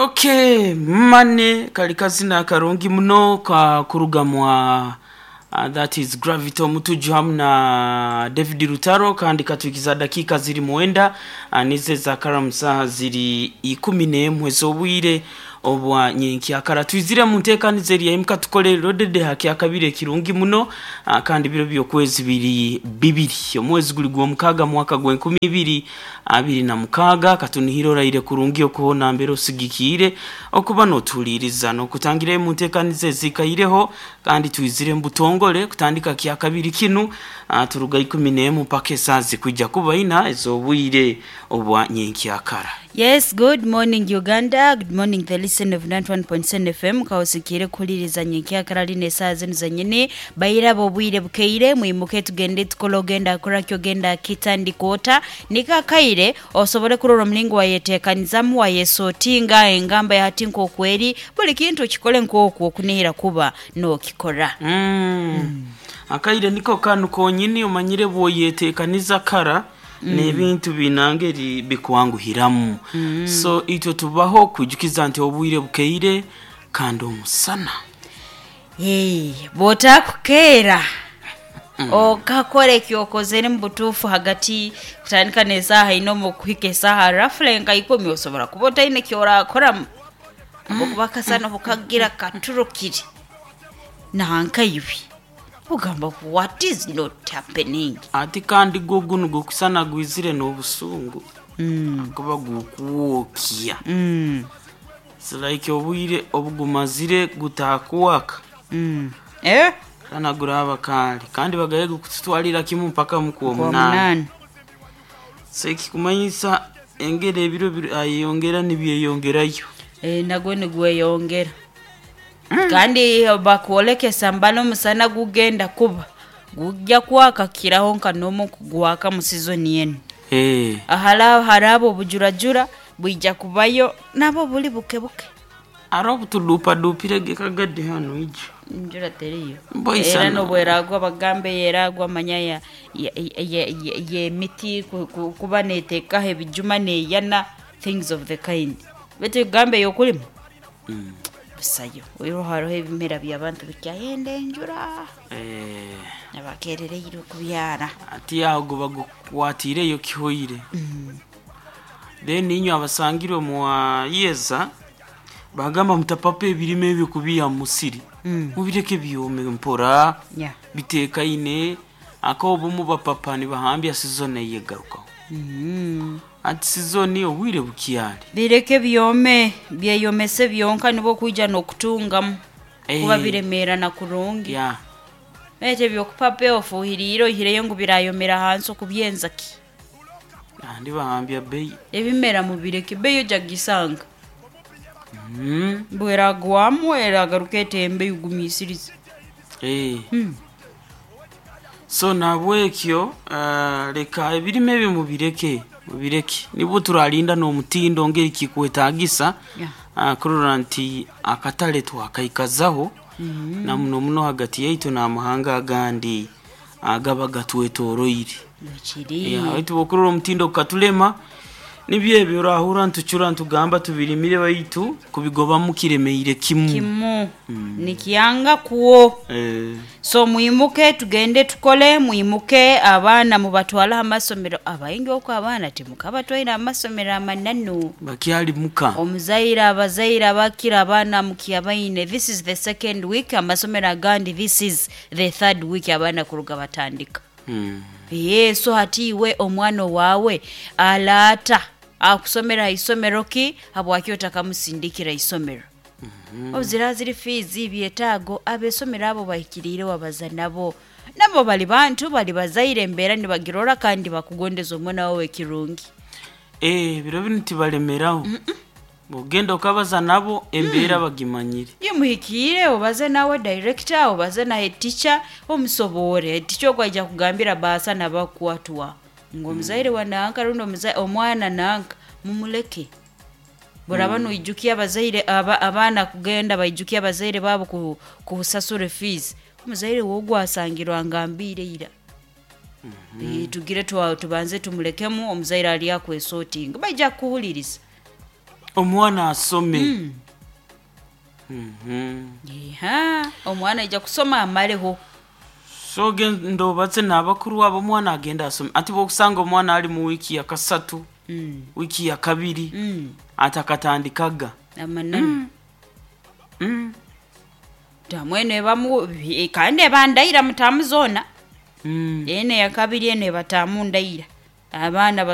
Okay, mane kali kazina karungi muno ka kuruga mwa that is Gravity Omutuju hamu na David Rutaro, kandi katuikiza dakika ziri mwenda nize za karamu saha ziri 11 z'obwire obwa nyenkyakara. Twizire mu nteekaniza eri yaimuka tukole rodede hakyakabiri ekirungi muno, kandi biro by'okwezi biri bibiri, omwezi guli gw'omukaaga, mwaka gw'enkumi ibiri abiri na mukaaga. Katunihire oraire kurungi okuhona mbere osigikiire okuba n'otuhuliiriza n'okutangirayo mu nteekaniza ezikaireho, kandi twizire mu butongole kutandika kyakabiri kinu, turuga 11 mpaka esaaha zikwija kuba ina ez'obwire obwa nyenkyakara. Yes, good morning Uganda, good morning the listen of 91.7 FM. Kaosikire kuhuliriza nyenkyakara lino esaaha zinu zenyini. Bairaba obwire bukeire, mwimuke tugende tukole, ogenda kora ki, ogenda kitandika ota. Niko akaire osobole kurora omulingo wayetekanizamu, wayesotinga engamba ya hati nk'oku eri. Buli kintu okikole nk'oku okunihira kuba n'okikora. Akaire niko kanu konyini, omanyire bw'oyetekaniza kara n'ebintu binangeri bikwanguhiramu. So itwe tubaho kwijukiza nti obwire bukeire kandi omusana. Bw'otakukeera okakora ekyokozere mu butuufu hagati kutandika n'esaaha ina omu kuhika esaaha rafule nka ikumi, osobora kuba otaine kyorakoramu habwokuba akasana obukagira katurukire nankaiwe ogamba, "What is not happening?" Ati kandi gwo gunu gukusana gwizire n'obusungu kuba gukwokya. It's like obwire obugumazire gutakwaka. Eh? Kana guraba kali kandi bagaye gukututwalira kimu mpaka mukuwa omunaana. Omunaana. So ekikumanyisa engeri ebiro ayeyongera nibyeyongerayo. E, nagwo nigweyongera kandi bakwolekesa mbala omusana gugenda kuba gujja kwaka kiraho nka n'omu kugwaka mu sizoni enu. Ahara haraba obujurajura bwija kubayo nabo buli buke buke. Aro obutudupadupire gekagadi hano ijo. Enjura teriyo. Mboisana. Era nobweragwa bagambe yeragwa manya y'emiti kuba neteekaho ebijuma neyana, things of the kind. Baitu egambe y'okulima busayo. Oihireho hariho ebimera by'abantu bikyayenda enjura. Abakerereirwe kubyara. Ati aho guba gukwatiireyo kihoire. Then inywe abasangirwe mwayeza bagamba mutapapa ebirime ebyo kubiha mu musiri. Mubireke byome mpora. Bitekaine aka obumu bapapa nibahambya sizoni eyegarukaho. Ati sizoni obwire bukyali. Bireke byome, byeyomese byonka nibwo kwija n'okutungamu kuba biremeerana kurungi. Baitu ebyokupapa ofuhiriire oihireyo ngu birayomera hansi okubyenza ki? Andi bahambya bei. Ebimera mubireke, bei ojja kugisanga. Bweragwamu eragaruka etembe ogumiisirize. So nahabwekyo leka ebirime ebyo mubireke, mubireke nibwo turalinda n'omutindo ngeri kikwetagisa, kurora nti akatale twakaikazaho na muno muno hagati yaitu n'amahanga agandi agaba gatwetoroire. Bwekiri. Baitu bwokurora omutindo gukatulema, nibyo ebyo orahurra nitucura nitugamba tubirimire baitu kubigobamu kiremeire kimu. Kimu. Nikyanga kwo. So mwimuke tugende tukole, mwimuke abaana mubatwale aha masomero. Abaingi oku abaana timukabatwaire aha masomero amananu. Bakyali muka. Omuzaire abazaire abakira abaana mukyabaine. This is the second week, amasomero agandi this is the third week abaana kuruga batandika. So hati iwe omwana owaawe alaata akusomera ha isomero ki, habwaki otakamusindikira isomero? Obu ziri fees, byetaago ab'esomero abo bahikiriire wabaza nabo. Nabo bali bantu, bali bazaire, embeera nibagirora kandi bakugondeza omwana waawe kirungi. Biro binu tibalemeraho. Bwogenda okabaza nabo embeera bagimanyire. Imuhikiire obaze nawe director, obaze na head teacher, omusoboore. Head teacher ogu aija kugambira baasa nabakwatwa ngu omuzaire wa nanka rundi omwana nanka mumuleke. Boraba noijukia abazaire abaana kugenda baijukia abazaire baabo kusasura fees, omuzaire wogu asangirwe angambiire ira. Tugire tubanze tumulekemu omuzaire ali akwesotinga baija kukuhuliriza. Omwana asome. Iha, omwana aija kusoma amaleho. So genda obaze n'abakuru abo, omwana agenda asome. Ati bwokusanga omwana ali mu wiiki ya kasatu, wiiki ya kabiri, atakatandikaga. Amananu. Tamwene bamu kandi ebandaira mutamu zoona. Eno eyakabiri, eno ebatamu ndaira abaana.